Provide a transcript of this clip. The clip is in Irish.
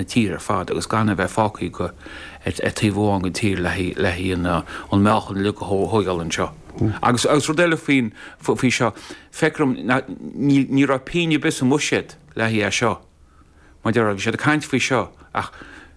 na tíre ar fad agus gan a bheith fágtha go ar taobh amháin den tír le haghaidh an meáchan uilig a thógáil anseo. Agus agus rud eile faoin faoi seo, feictear dom ní raibh pingin ar bith sa mbuiséad le haghaidh é seo. Mar a déarfá, bhí siad ag caint faoi seo ach.